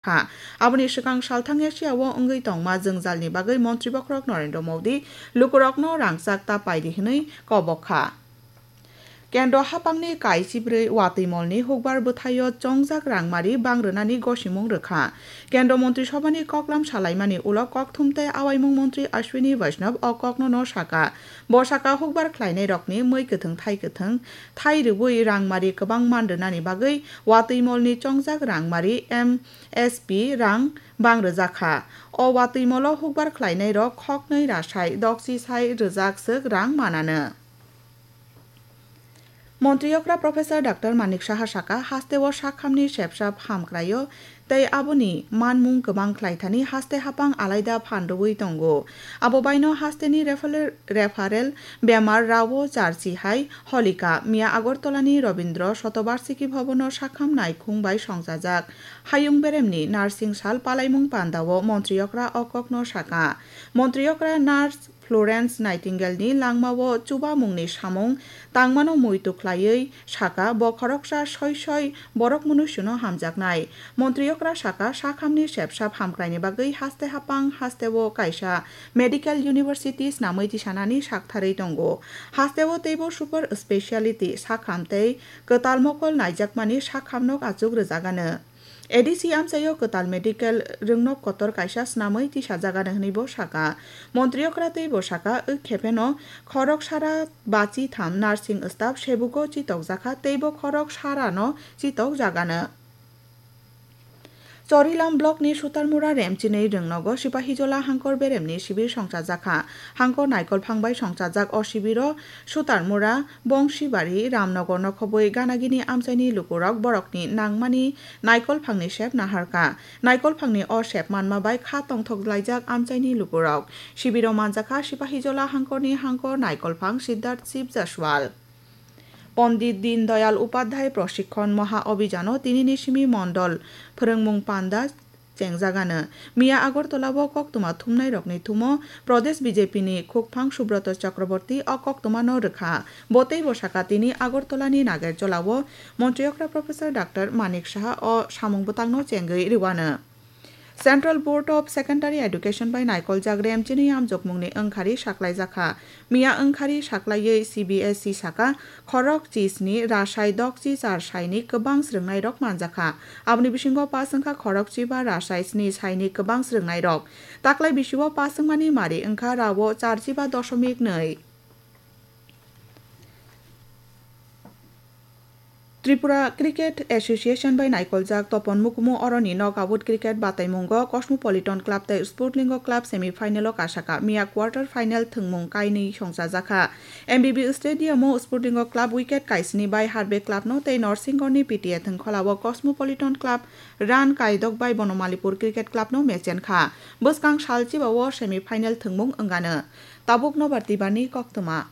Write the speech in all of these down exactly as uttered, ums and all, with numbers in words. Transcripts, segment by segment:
kha. Aboni swkang salthang Asia o wngwi tongma jwngjalni bagwi Montri Bokhorok Narendra Modi lukurokno rangchak ta paidi hwnwi kobok kha. Kendro hapangni kaichibrwi watwi molni hukbar bwthaio chongjak rangmari bang rwnani gosimung rwkha. Kendro Montri Sobhani koklam salaimani ulo kokthum tei awaimung montri Ashwini Vaishnav o kokno no saka. Bo saka hukbar khlainairokni mwi kwthwng thai kwthwng thai rwui rangmari kwbang man rwnani bagwi watwi molni chongjak rangmari M S P rang bang rwjakha. O watwi molo hukbar khlainairok khoknwi rasai dokchi sai rwjak swk rang mananw. Montri okra Professor Doctor Manik Saha saka, hasteo sakhamni sepsap hamkraio tei aboni manmung kwbang khlaithani haste hapang alaida phan rwui tongo. Abo baino hasteni referral, referral bemar rao charchi hai holika miya Agartalani Rabindra Shatabarshiki Bhabono sakham naikhung bai songchajak. Hayung beremni nursing sal palaimung pandao Montri okra o kokno saka. Montri okra nurse Florence Nightingale ni langmao chubamungni samung tangmano muitu khlaiwi saka, bo khoroksa soi soi borok munuisuno hamjaknai. Montri okra saka, sakhamni sepsap hamkraini bagwi haste hapang hasteo kaisa medical university snamwi tisanani saktharwi tongo. Hasteo teibo super speciality sakham tei kwtal mokol naijakmani sakhamnok achuk rwjagano. A D C amchaio kwtal medical rwngnok kotor kaisa snamwi tisajagano hwnwi bo saka. Montri okra tei bo saka, wk khepheno khorok sara bachi tham nursing staff sebugo chitokjakha tei bo khorok sarano chitokjagano. Chorilam block ni Sutarmura Remchini Rwngnogo Sipahijola Hangkor Beremni sibir songchajakha. Hangkor naikolphang bai songchajak o sibiro Sutarmura, Bongsibari, Ramnogor nokhobwi ganagini amchaini lukurok borokni nangmani naikolphangni sep naharkha. Naikolphangni o sep manma bai kha tongthok laijak amchaini lukurok. Sibiro manjakha Sipahijola Hangkorni Hangkor naikolphang Siddharth Shiv Jaswal. Pondit Deen Dayal Upadhyay Prashikhon Maha Abhijano tinini simi mondol phwrwngmung panda chengjagano. Miya Agartala o koktwma thumnairokni thumo Pradesh B J P ni khukphang Subroto Chakraborty o koktwmano rwkha. Bo teibo saka tini Agartalani Nagerjolao Montri okra Professor Doctor Manik Saha o samung bwtangno chengwi rwano. Central Board of Secondary Education bai naikoljak Remchini amjokmungni wngkhari saklaijakha. Miya wngkhari saklaiwi C B S E saka, khorok chisni rasai dokchi char saini kwbang swrwngnairok manjakha. Aboni bisingo pass wngkha khorok chiba rasai sni saini kwbang swrwngnairok. Taklai bisio pass wngmani mari wngkha rao char chiba dosomik nwi. Tripura Cricket Association bai naikoljak Topon Mukumu oroni knockout cricket bataimungo Cosmopolitan Club tei Spurtlingo Club semi final o kasaka miya quarter final thwngmung kainwi songchajakha. M B B Stadium o Spurtlingo Club wicket kaisni bai Harbe Club no tei Norsingorni P T A thwngkhola o Cosmopolitan Club run kaidok bai Bonomalipur Cricket Club no mechenkha. Bwskang sal chiba o semi final thwngmung wngano. Tabuk nobar tibani koktwma.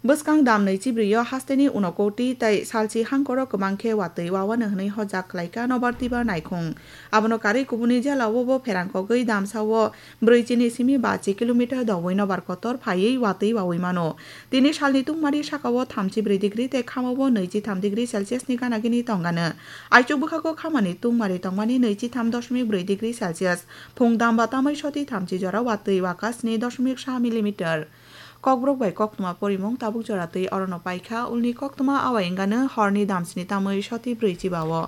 Bwskang dam nwi chibrio hasteni unokoti tei salchi hangkoro kwbang khe watwi wawano hwnwi hojak khlaikha nobar tiba naikhung. Abono karwi kubuni jela o bo pherang kogwi damsa o brwi chini simi bachi kilometer dogwi nobar kotor phaiwi watwi wawi mano. Tini salni tungmari saka o thamchi brwi degree tei khama o nwichi tham degree Celsius ni gana gini tongano. Aichuk bwkhago khamani tungmari tongmani nwichi tham dosmik brwi degree Celsius. Phung damba tamwi soti thamchi jora watwi waka sni dosmik sa millimeter. Kokborok bai koktwma porimung tabuk jora twi orono paikha, ulni koktwma awai wngano horni damsni tamwi soti brwi chiba o.